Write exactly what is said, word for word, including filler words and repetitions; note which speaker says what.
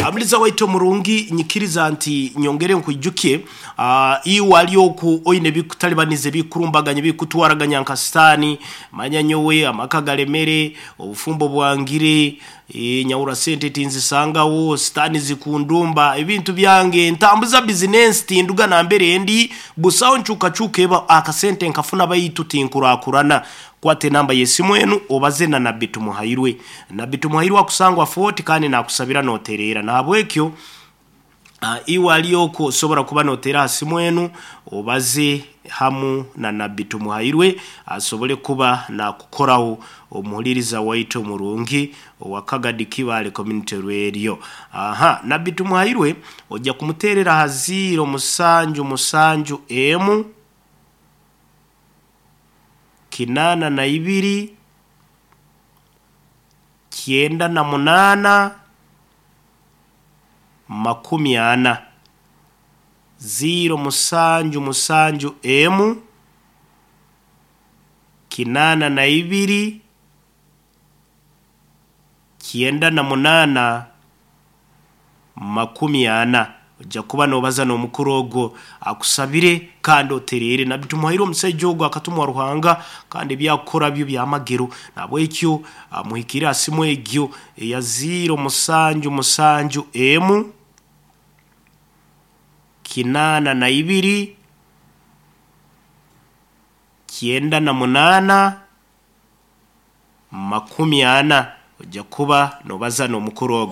Speaker 1: Amuliza waitu omurungi, nyikiriza nti nyongere nkwijukye uh, iwe ali oku oine bikutalibaniza, bikurumbaganya, bikutwaraganya nka sitaani. Manya nyowe amaka galemere, obufumbo bwangire, e, nyawura sente tinzisangawo, sitaani zikundumba ebintu byange, ntambuza bizinensi tinduga nambere ndi busaho ncukacuka eba akasente nkafuna baitu tinkurakurana. Kwata enamba y'esimu enu obaze na Nabbi Tumuhairwe. Nabbi Tumuhairwe akusangwa Fort kandi nakusabira noterera. Nahabwekyo uh, iwe ali oku osobora kuba notera ha simu enu obaze hamu na Nabbi Tumuhairwe asobole kuba nakukoraho, omuhuliriza waitu omurungi owa Kagadi Kibaale Community Radio. Aha, Nabbi Tumuhairwe ojja kumuterera ha ziro musanju musanju emu kinana na ibiri kyenda na munana makumi ana, ziro musanju musanju emu kinana na ibiri kyenda na munana makumi ana. Ojja kuba nobaza n'omukuru ogwo akusabire kandi oterere. Nabbi Tumuhaire omusaija ogwo akatumwa Ruhanga kandi ebyakukora byo byamagero. Nabwekyo muhikire ha simu egyo eya ziro musanju musanju emu kinana na ibiri kyenda na munana makumi ana, ojja kuba nobaza n'omukuru ogwo.